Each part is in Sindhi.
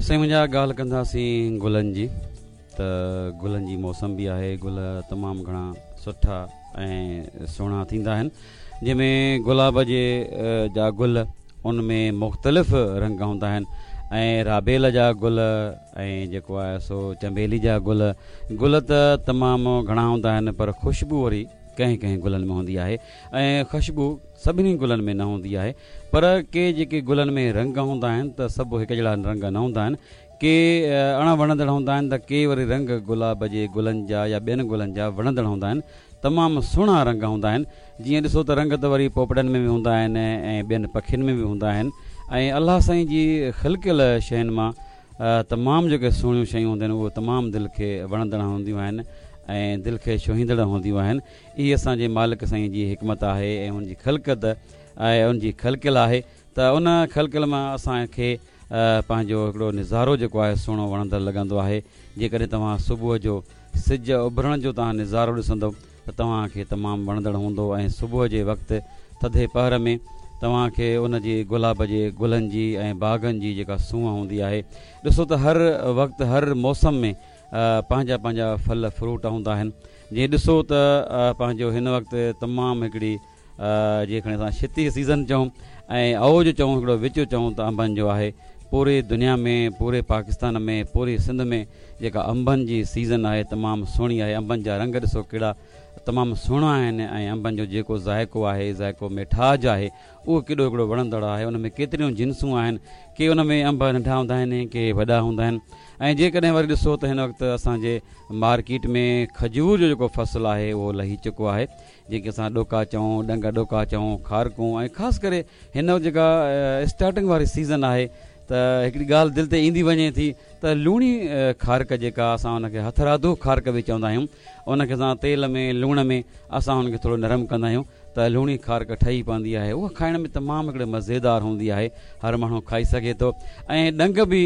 سائين منهنجا ڳالهه ڪنداسين گلن جي ته گلن جي موسم به آهي گل تمام گهڻا سٺا ۽ سهڻا ٿيندا آهن جنهن ۾ گلاب جي جا گل ان ۾ مختلف رنگ هوندا آهن ۽ رابيل جا گل ۽ جيڪو آهي سو چنبيلي جا گل گل ته تمام گهڻا هوندا آهن پر خوشبو وري ڪنهن ڪنهن گلن ۾ هوندي آهي ۽ خوشبو سڀني گلن ۾ نه هوندي آهي پر ڪي جيڪي گلن ۾ رنگ هوندا آهن ته سڀ هڪ جهڙا رنگ نه هوندا آهن ڪي اڻ وڻندڙ هوندا آهن ته ڪي وري رنگ گلاب جي گلن جا يا ٻين گلن جا وڻندڙ هوندا آهن تمام سهڻا رنگ هوندا آهن جيئن ڏسو ته رنگ ته وري پوپٽن ۾ به هوندا آهن ۽ ٻين پکين ۾ به هوندا آهن ۽ الله سائين جي خلقيل شين مان تمام جيڪي سهڻيون شيون هونديون آهن اهي تمام دل کي وڻندڙ هونديون آهن ۽ دل کي ڇهيندڙ هونديون آهن اهي اسان جي مالڪ سائين جي حڪمت آهي ۽ ان جي خلقت ۽ ان جي خلقيل آهي ته ان خلقيل مان اسان کي پنهنجو هڪڙو نظارو جيڪو آهي سهڻو وڻندڙ لڳندو آهي جيڪڏهن توهان صبح جو سج اڀرڻ جو توهان نظارو ڏسندو ته توهان کي تمام وڻندڙ هوندو ۽ صبح جي وقت ٿڌي پهر ۾ توهان کي ان جي گلاب جي گلن جي ۽ باغن جي جيڪا سونهن هوندي آهي ڏسو ته هر وقت هر موسم ۾ پنهنجا پنهنجا ڦل فروٽ هوندا آهن جيئن ڏسو ته پنهنجو هن وقت تمام هڪڙي جيئن کڻي اسان ڇتي سيزن چئون ۽ اوج چئون هڪڙو وچ چئون ته انبن جو آهي پوري دنيا ۾ پوري پاڪستان ۾ پوري سنڌ ۾ جيڪا انبن جي سيزن آهي تمام سهڻي آهي انبن جا رنگ ڏسو ڪهڙا تمام سهڻا آهن ۽ انبن جو جيڪو ذائقو آهي ذائقو ميٺاج آهي اهو ڪيڏو هڪڙو وڻندڙ آهي ان ۾ ڪيتريون جنسون آهن ڪي ان ۾ انب ننڍا هوندا آهن ڪي وڏا هوندا آهن ۽ جيڪڏهن وري ڏسو ته هن وقت اسان جي مارڪيٽ ۾ کجور جو جيڪو فصل آهي اهو لهي چڪو آهي جنهن کي اسان ڏوڪا چئون، ڏنگ ڏوڪا چئون، کارڪون ۽ خاص ڪري هن وقت جيڪا اسٽارٽنگ واري سيزن آهي ته هڪڙي ڳالهه دل تي ايندي وڃي ٿي ته لوڻي کارڪ جيڪا اسان ان کي هٿرادو کارڪ به چوندا آهيون ان کي اسان تيل ۾ لوڻ ۾ اسان ان کي ٿورو نرم ڪندا آهيون ته لوڻي کارڪ ٺهي پوندي آهي اها کائڻ ۾ تمام هڪڙي مزيدار هوندي آهي هر ماڻهو کائي سگهي ٿو ۽ ڏنگ به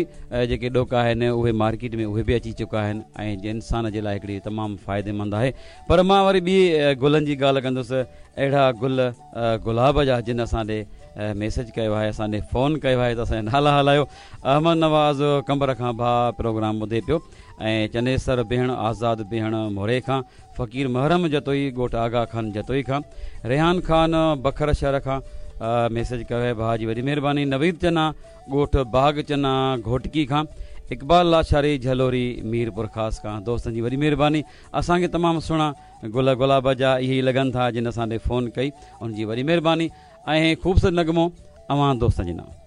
جيڪي ڏوڪا آهن اهي مارڪيٽ ۾ اهي به اچي چڪا آهن ۽ انسان جي لاء هڪڙي تمام فائديمند آهي پر مان وري ٻي گلن جي ڳالهه ڪندس اهڙا گل گلاب جا جن اسان ڏي ميسيج ڪيو آهي اسان ڏي فون ڪيو آهي ته اسان جا نالا هلايو احمد نواز قمبر کان ڀاء پروگرام ٻڌي پيو ۽ چنيسر بيهڻ آزاد بيهڻ موري کان فقير محرم جتوئي ڳوٺ آغا خان جتوئي کان ريحان خان بکر شهر کان ميسيج ڪيو آهي ڀاء جي وڏي مهرباني نويد چنا ڳوٺ باغ چنا گهوٽڪي کان اقبال لاشاري جهلوري ميرپورخاص کان دوستن جي وڏي مهرباني اسان کي تمام سهڻا گل گلاب جا اهي ئي لڳن ٿا جن اسان ڏي فون ڪئي ان جي وڏي مهرباني ۽ خوبصورت نغمو اوهان دوستن جي نانء.